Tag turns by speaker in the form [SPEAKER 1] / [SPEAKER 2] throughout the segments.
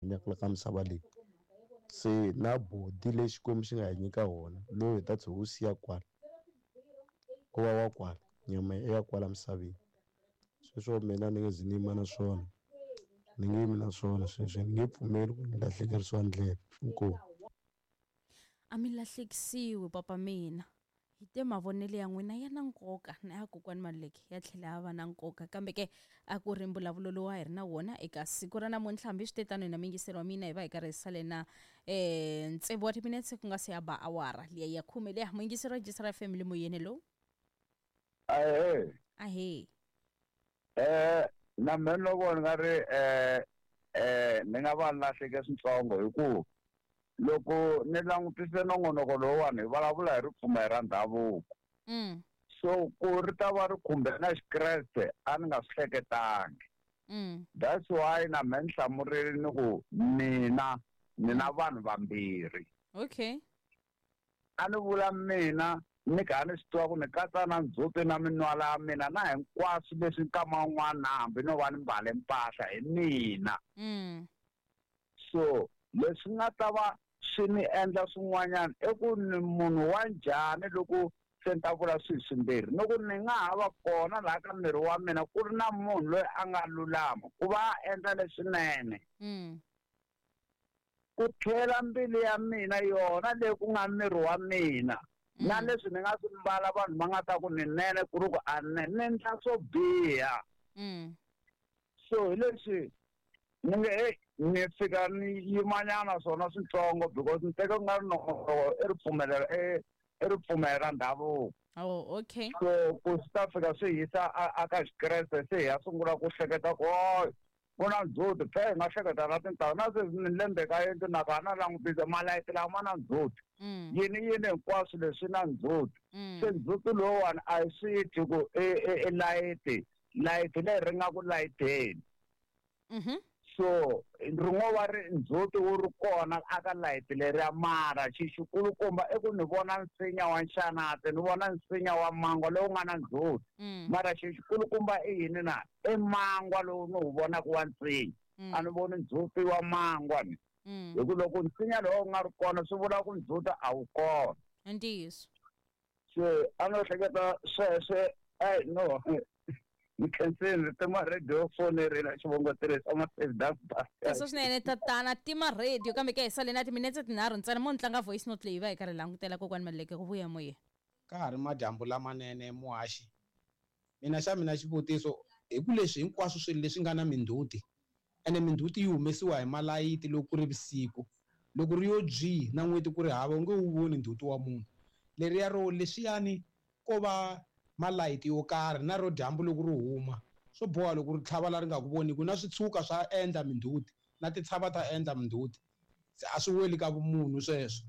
[SPEAKER 1] Hanyaka la ka misava leyi. Se na body leyi Xikwembu xi nga hi nyika wona lowu hi ta tshe wu siya kwala ku va wa kwala nyama i ya kwala misaveni. Sweswo mina ni nge zi ni yima na swona ni nge yimi na swona sweswo ni nge pfumeli ku ni lahlekerisiwa ndlela. Inkomu.
[SPEAKER 2] A mi lahlekisiwi papa mina. Hi te mavonelo ya n'wina ya na nkoka na ya kokwani Maluleke ya tlhela ya va na nkoka kambe ke a ku ri mbulavulo lowu a hi ri na wona eka siku ra namuntlha hambi swi te tano hina miyingiseri wa mina hi va hi karhi hi sale na um tsevu wa timinetse ku nga se ya ba awara liya ya khume liya muyingiseri wa Jisara FM le moyeni hello.
[SPEAKER 3] Ahee.
[SPEAKER 2] Ahee.
[SPEAKER 3] Na mina ni vona nga ri ni nga va ni lahleke switsongo hi ku loko ni langutise nongonoko lowuwani hi vulavula hi ripfumelo ra ndhavuko. So ku ri ta va ri khumbe na Xikreste a ni nga swi hleketangi. That's why na mehe ni hlamurile ni ku mina ni na vanhu vambirhi.
[SPEAKER 2] Okay.
[SPEAKER 3] A ni vula mina ni kha ni swi tiva ku ni katsa na ndzhuti na minwala ya mina na hinkwaswo leswi nkama wun'wana na hambi no va ni mbale mpahla hi mina. So leswi nga ta va swi ni endla swin'wanyana i ku ni munhu wa njhani loko se ni ta vula swilo swimbirhi ni ku ni nga ha va kona laha ka miri wa mina ku ri na munhu loyi a nga lulama ku va a endla leswinene. Ku tlhela mbilu ya mina yona leyi ku nga miri wa mina na leswi ni nga swi mbala vanhu va nga ta ku ni nene ku ri ku a ni ni endla swo biha. So hi leswi ni nge heyi ni fika ni yimanyana swona switsongo because ni teke ku nga ri nongonoko i ripfumelelo i i ripfumelo ra ndhavuko.
[SPEAKER 2] Oh, okay.
[SPEAKER 3] So ku swi ta fika swi hisa a a ka Xikreste se hi ya sungula ku hleketa ku ku na ndzhuti phe hi nga hleketa na tintanghu na sweswi ni le ndzeni ka yindlu na ka na langutisa malayiti lawa ma na ndzhuti. Yini yini hinkwaswo leswi na ndzhuti. Se ndzhuti lowuwani a hi swi twi ku i i i layiti layiti leri ri nga ku layiteni. So ri ngo va ri ndzhuti wu ri kona aka layiti leriya mara xi xikulukumba i ku ni vona nsinya wa nxanati ni vona nsinya wa mangwa lowu nga na ndzhuti. Mara xi xikulukumba i yini na? I mangwa lowu ni wu vonaka wa nsinya. A ni voni ndzhuti wa mangwa ni. Hi ku loko nsinya lowu wu nga ri kona swi vula ku ndzhuti a wu kona.
[SPEAKER 2] I ntiyiso.
[SPEAKER 3] Se a no hleketa sweswe ai no ni khensile ni tima radio fonerile xivongo tirhisa ma-save
[SPEAKER 2] Sweswo swinene tatana tima radio kambe ke hi sale na timinetse tinharhu ntsena mo ni tlanga voice note leyi va hi karhi langutela kokwani Maluleke ku vuya moyeni.
[SPEAKER 4] Ka ha ri madyambu lamanene muhaxi. Mina xa mina xivutiso hi ku leswi hinkwaswo swilo leswi nga na mindzhuti ene mindzhuti yi humesiwa hi malayiti loko ku ri vusiku loko ri yo dzwii na n'weti ku ri hava u nge wu voni ndzhuti wa munhu leriya ro leswiyani ko va malayiti yo karhi na ro dyambu loko ri huma swo boha loko ri tlhava la ri nga ku voniku na switshuka swa endla mindzhuti na tintshava ta endla mindzhuti se a swi weli ka vumunhu sweswo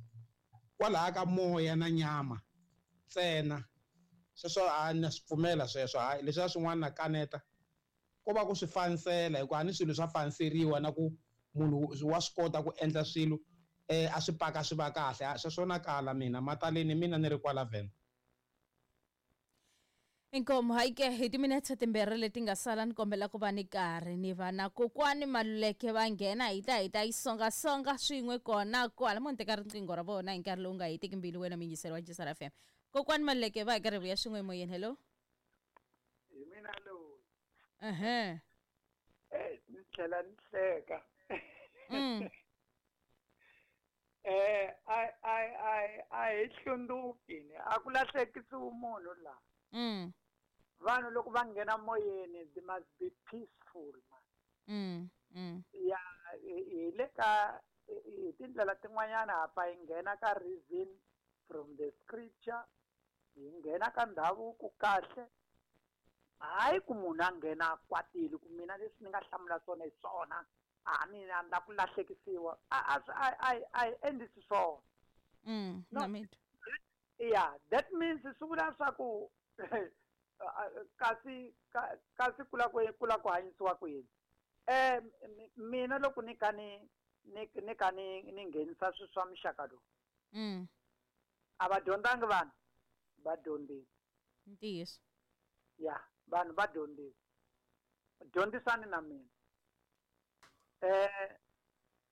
[SPEAKER 4] kwalaya ka moya na nyama ntsena sweswo a na swi pfumela sweswo hayi leswiya swin'wana na kaneta ko va ku swi fanisela hikuva a ni swilo swa faniseriwa na ku munhu wa swi kota ku endla swilo a swi paka swi va kahle sweswo na kala mina mataleni mina ni ri kwala Venda.
[SPEAKER 2] Inkomu hayi ke hi timinetse timbirhi leti nga sala ni kombela ku va ni karhi ni va na kokwani Maluleke va nghena hi ta hi ta yi songasonga swin'we kona kwala mo ni teka riqingho ra vona hi nkarhi lowu nga hetiki mbilu wena muyingiseri wa Jisara FM kokwani Maluleke va hi karhi vuya swin'we emoyeni hello.
[SPEAKER 5] Hi mina loyi.
[SPEAKER 2] Ehe.
[SPEAKER 5] Ni tlhela ni hleka. A hi hlundzuki ni a ku lahlekisiwi munhu laha. Vanhu loko va nghena moyeni they must be peaceful man. Ya hi le ka hi tindlela tin'wanyana hapa hi nghena ka reason from the scripture hi nghena ka ndhavuko kahle hayi ku munhu a nghena kwatile ku mina leswi ni nga hlamula swona hi swona a mina ni la ku lahlekisiwa a a hi endlisi swona.
[SPEAKER 2] No.
[SPEAKER 5] Yeah, that means swi vula swa ku kasi kasi ku la ku ku la ku hanyisiwa ku yini. Mina loko ni kha ni ni ni kha ni ni nghenisa swilo swa muxaka lowu. A va dyondzangi vanhu va dyondzile.
[SPEAKER 2] Ntiyiso.
[SPEAKER 5] Ya, vanhu va dyondzile. Dyondzisani na mina.